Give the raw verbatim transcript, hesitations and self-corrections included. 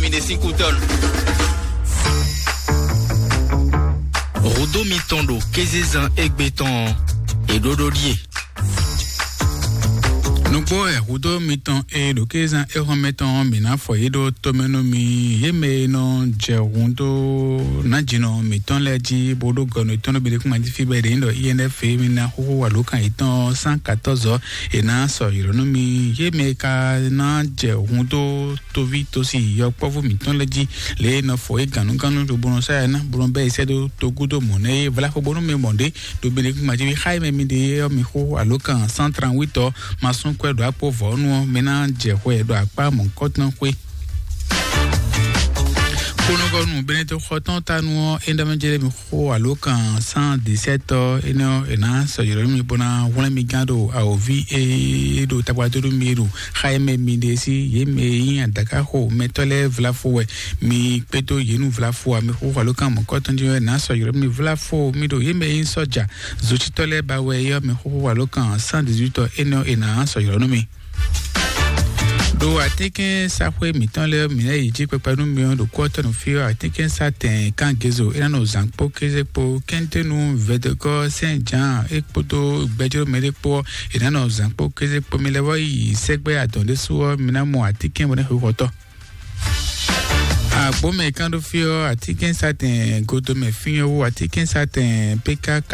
Mi ɖe sín kútɔ́nu. Hǔdó mitɔn ɖo kézezán égbé tɔn ɔ́, è ɖó ɖó ɖíe. Nǔgbó wɛ hǔdó mitɔn e ɖo kézezán éhɔ́nmɛ tɔn ɔ́, mǐ ná fɔ yě ɖó tomɛ nú mi. Yě mɛ e nɔ jɛ hǔn dó nǎjínɔ mǐtɔn lɛ́ɛ jí, bó ɖó gɔnu yětɔn ɖó gbeɖékúngban jí fí bɔ è ɖe nyí ɖɔ I N F e mi ná xóxó alǒkan yětɔn ɔ́, cent quatorze ɔ́, è nǎ sɔ ylɔ̌ nú mi. Yě mɛ e ka ná jɛ hǔn dó toví tosi yɔkpɔ́vú mǐtɔn lɛ́ɛ jí, lě e è nɔ fɔ yě gǎnnugánnu lobo nɔ sɔ́ yɛ ná, bó nɔ bɛ́ yě sɛ́ dó togúdo mɔ̌ nɛ́ é. Vla xo bónú mi mɔ ɖě ɖo Benɛkún majíví xá e mɛ mi ɖe ɔ́, mi xó alǒkan cent trente-huit ɔ́, ma sún kwɛ ɖo akpó vɔ̌nu ɔ́, mi ná jɛ hwɛ ɖo akpá mɔ̌kɔtɔn xwé. Kponɔgɔnu Benɛto xɔtɔn tanu ɔ́, é ɖɔ mɛ jɛ mi xó alǒkan cent dix-sept ɔ́, énɛ́ ɔ́, è nǎ sɔ́ ylɔ́ nú mi bó ná hwlɛ́n mi gán ɖo awǒvi e ɖo tagbadó nú mi e ɖo xa e mɛ mi ɖe sí, yě mɛ e nyí adǎkaxo mɛtɔ́ lɛ́ɛ vlafo wɛ. Mi kpédó yě nú vlafo ǎ, mi xóxó alǒkan mɔ̌kɔtɔn jí ɔ́, è nǎ sɔ́ ylɔ́ nú mi vlafo mi ɖo yě mɛ e nyí sɔ́ja zocítɔ́ lɛ́ɛ ba wɛ é ɔ́, mi xóxó alǒkan cent dix-huit ɔ́, énɛ́ ɔ́, è nǎ sɔ́ ylɔ́ nú mi. Ɖo atínkɛ́nsaxwé mǐtɔn lɛ́ɛ mǐ lɛ́ yi jí kpɛkpɛ nú mi ɔ́, ɖo kú ɔ́ tɔn nɔ fí ɔ́, atínkɛ́nsa tɛn kán Gezo é ná nɔ zǎn kpó kéze kpó kɛ́ntɛ́nu vɛdɔgɔ́ sɛ́n Jǎan é kpódó gbɛjló mɛɖé kpó ɔ́, è nǎ nɔ zǎn kpó kéze kpó. Mi lɛ́ vɔ́ yi sɛ́gbɛ́ adɔn ɖésú ɔ́, mi ná mɔ atínkɛ́n bɔ ná xweyǐxɔtɔ́. Agbǒmɛ kán ɖó fí ɔ́, atínkɛ́nsa tɛn godomɛ fí ɔ́ wú, atínkɛ́nsa tɛn P K K